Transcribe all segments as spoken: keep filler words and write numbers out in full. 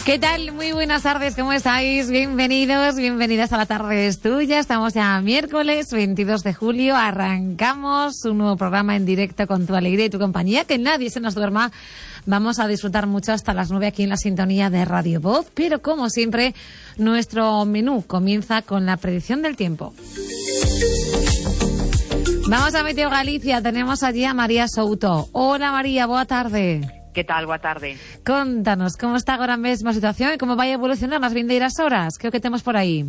¿Qué tal? Muy buenas tardes, ¿cómo estáis? Bienvenidos, bienvenidas a La Tarde es Tuya. Estamos ya miércoles veintidós de julio, arrancamos un nuevo programa en directo con tu alegría y tu compañía, que nadie se nos duerma. Vamos a disfrutar mucho hasta las nueve aquí en la sintonía de Radio Voz, pero como siempre, nuestro menú comienza con la predicción del tiempo. Vamos a Meteo Galicia, tenemos allí a María Souto. Hola María, boa tarde. Que tal? Boa tarde. Contanos, como está agora mesmo a situación e como vai evolucionar nas vindeiras horas? Que é o que temos por aí?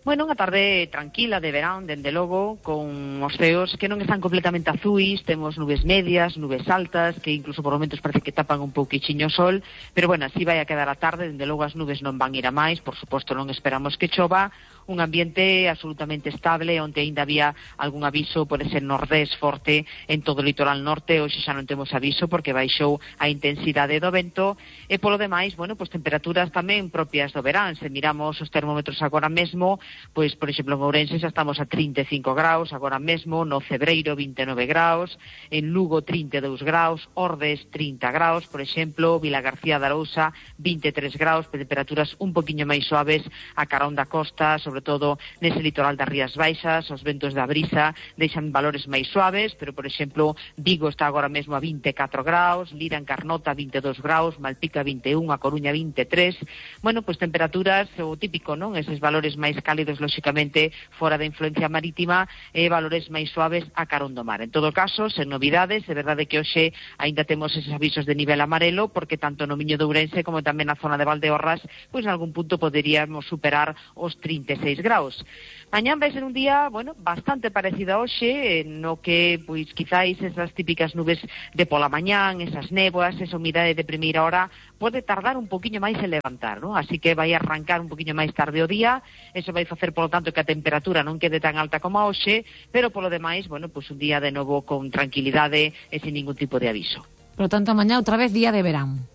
Bueno, unha tarde tranquila de verán, dende logo, con os ceos que non están completamente azuis, temos nubes medias, nubes altas, que incluso por momentos parece que tapan un pouquichiño o sol, pero bueno, así vai a quedar a tarde, dende logo as nubes non van ir a máis, por suposto non esperamos que chova, un ambiente absolutamente estable, onde ainda había algún aviso por ese nordés forte en todo o litoral norte, hoxe xa non temos aviso porque baixou a intensidade do vento, e polo demais, bueno, pois temperaturas tamén propias do verán, se miramos os termómetros agora mesmo, pois, por exemplo, en Ourense xa estamos a trinta e cinco graus, agora mesmo, no Cebreiro vinte e nove graus, en Lugo trinta e dous graus, Ordes trinta graus, por exemplo, Vilagarcía de Arousa vinte e tres graus, temperaturas un poquinho máis suaves a carón da costa, sobre todo nese litoral das Rías Baixas, os ventos da brisa deixan valores máis suaves, pero, por exemplo, Vigo está agora mesmo a vinte e catro graus, Lira en Carnota vinte e dous graus, Malpica vinte e un, a Coruña vinte e tres, bueno, pois temperaturas, o típico, non? Eses valores máis cálidos, lóxicamente, fora da influencia marítima, e valores máis suaves a carón do mar. En todo caso, sen novidades, é verdade que hoxe aínda temos eses avisos de nivel amarelo, porque tanto no Miño de Ourense como tamén na zona de Valdeorras, pois en algún punto poderíamos superar os trinta e seis graus. Mañán vai ser un día, bueno, bastante parecido a hoxe, no que, pois, quizáis esas típicas nubes de pola mañán, esas néboas, esa humidade de primeira hora, pode tardar un poquinho máis en levantar, non? Así que vai arrancar un poquinho máis tarde o día, eso vai facer, polo tanto, que a temperatura non quede tan alta como a hoxe, pero polo demais, bueno, pois un día de novo con tranquilidade e sin ningún tipo de aviso. Por lo tanto, mañá outra vez día de verán.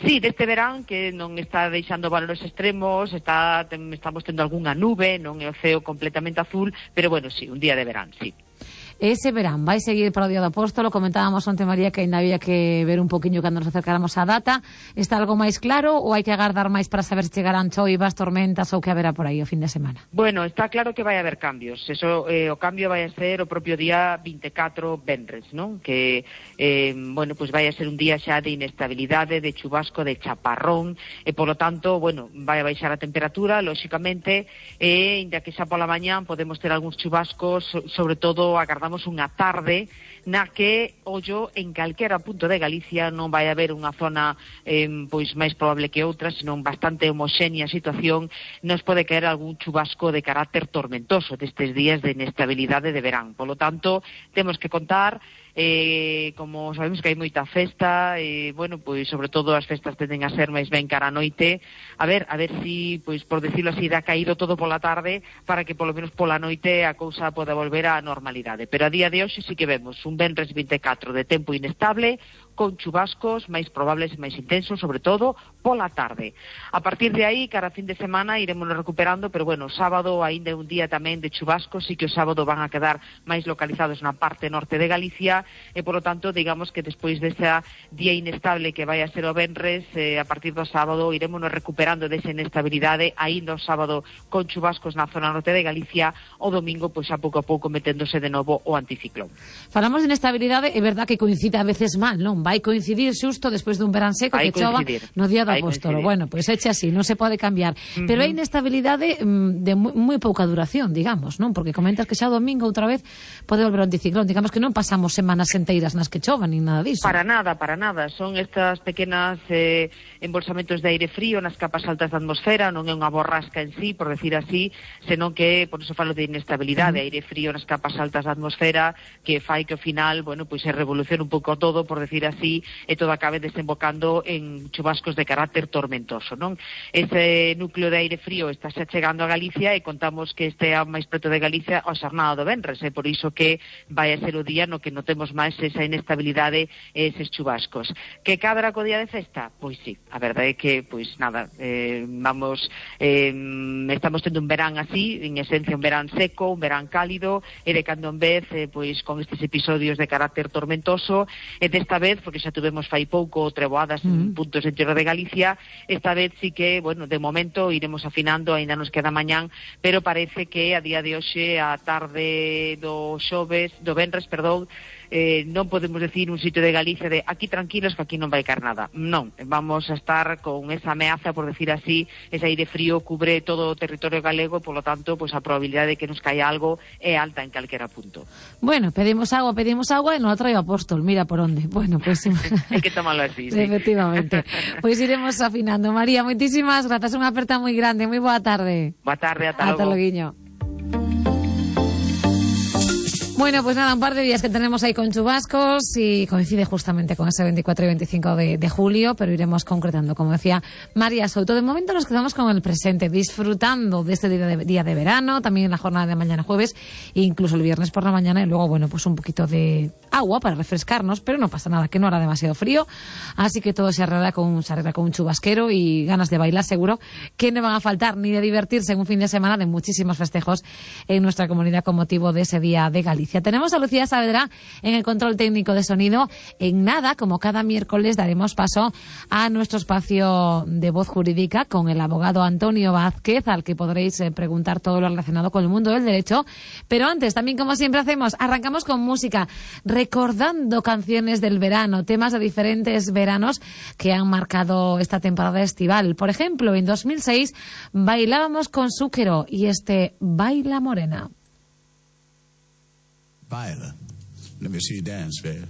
Sí, deste verán que non está deixando valores extremos, está ten, estamos tendo algunha nube, non é o ceo completamente azul, pero bueno, sí, un día de verán, sí. Ese verán vai seguir para o Día do Apóstolo, comentábamos onte, María, que ainda había que ver un poquinho cando nos acercáramos á data. Está algo máis claro ou hai que agardar máis para saber se chegarán choivas, tormentas ou que haberá por aí o fin de semana? Bueno, está claro que vai haber cambios. Eso, eh, o cambio vai a ser o propio día vinte e catro, venres, non? Que, eh, bueno, pues vai a ser un día xa de inestabilidade, de chubasco, de chaparrón, e polo tanto, bueno, vai a baixar a temperatura, lóxicamente, e inda que xa pola mañán podemos ter algúns chubascos, sobre todo agardamos unha tarde na que, ollo, en calquera punto de Galicia non vai haber unha zona eh, pois máis probable que outra, senón bastante homoxénea a situación, nos pode caer algún chubasco de carácter tormentoso destes días de inestabilidade de verán. Polo tanto, temos que contar Eh, como sabemos que hai moita festa, e, eh, bueno, pois sobre todo as festas tenden a ser máis ben cara a noite, a ver, a ver si, pois por decirlo así, dá caído todo pola tarde para que polo menos pola noite a cousa poda volver á normalidade. Pero a día de hoxe sí que vemos un venres vinte e catro de tempo inestable, con chubascos máis probables e máis intensos, sobre todo pola tarde. A partir de aí, cara a fin de semana, iremos recuperando, pero bueno, sábado aínda é un día tamén de chubascos, sí que o sábado van a quedar máis localizados na parte norte de Galicia, e polo tanto, digamos que despois desa día inestable que vai a ser o venres, eh, a partir do sábado iremos recuperando desa inestabilidade, aínda o sábado con chubascos na zona norte de Galicia, o domingo, pois a pouco a pouco meténdose de novo o anticiclón. Falamos de inestabilidade, é verdad que coincide a veces mal, non? Vai coincidir xusto despois dun verán seco que chova no Día do Apóstolo. Bueno, pois pues eche así, non se pode cambiar. Uh-huh. Pero hai inestabilidade mm, de moi, moi pouca duración, digamos, non? Porque comentas que xa o domingo outra vez pode volver o anticiclón. Digamos que non pasamos semanas enteiras nas que chovan, nin nada disso. Para nada, para nada. Son estas pequenas eh, embolsamentos de aire frío nas capas altas da atmosfera, non é unha borrasca en sí, por decir así, senón que, por eso falo de inestabilidade, uh-huh. aire frío nas capas altas da atmosfera, que fai que ao final, bueno, pois se revolucione un pouco todo, por decir así, e todo acabe desembocando en chubascos de carácter tormentoso, non? Ese núcleo de aire frío está xa chegando a Galicia e contamos que este máis preto de Galicia a xornada do venres, e por iso que vai a ser o día no que notemos máis esa inestabilidade e eses chubascos. Que cadra co día de festa? Pois sí, a verdade é que, pois nada, eh, vamos, eh, estamos tendo un verán así, en esencia un verán seco, un verán cálido, e de cando en vez, eh, pois con estes episodios de carácter tormentoso, e desta vez porque xa tuvemos fai pouco treboadas mm. en puntos enteros de Galicia. Esta vez sí que, bueno, de momento iremos afinando, aínda nos queda mañán, pero parece que a día de hoxe, a tarde do xoves, do venres, perdón, eh, non podemos decir un sitio de Galicia de aquí tranquilos que aquí non vai caer nada. Non, vamos a estar con esa ameaza, por decir así, ese aire frío cubre todo o territorio galego, por lo tanto, pues a probabilidade de que nos caia algo é alta en calquera punto. Bueno, pedimos agua, pedimos agua e non a traio apóstol, mira por onde. Bueno, pues hai que tomarlo así, sí. Efectivamente. Pois pues iremos afinando. María, moitísimas grazas, unha aperta moi grande, moi boa tarde. Boa tarde, ata logo. Ata loguiño. Bueno, pues nada, un par de días que tenemos ahí con chubascos y coincide justamente con ese veinticuatro y veinticinco de, de julio, pero iremos concretando, como decía María Souto. De momento nos quedamos con el presente, disfrutando de este día de, día de verano, también en la jornada de mañana jueves, e incluso el viernes por la mañana, y luego, bueno, pues un poquito de agua para refrescarnos, pero no pasa nada, que no hará demasiado frío, así que todo se arregla con, se arregla con un chubasquero y ganas de bailar seguro que no van a faltar, ni de divertirse en un fin de semana de muchísimos festejos en nuestra comunidad con motivo de ese día de Galicia. Tenemos a Lucía Saavedra en el control técnico de sonido. En nada, como cada miércoles, daremos paso a nuestro espacio de voz jurídica con el abogado Antonio Vázquez, al que podréis eh, preguntar todo lo relacionado con el mundo del derecho. Pero antes, también como siempre hacemos, arrancamos con música, recordando canciones del verano, temas de diferentes veranos que han marcado esta temporada estival. Por ejemplo, en dos mil seis bailábamos con Zúquero y este Baila Morena. Baila. Let me see you dance, babe.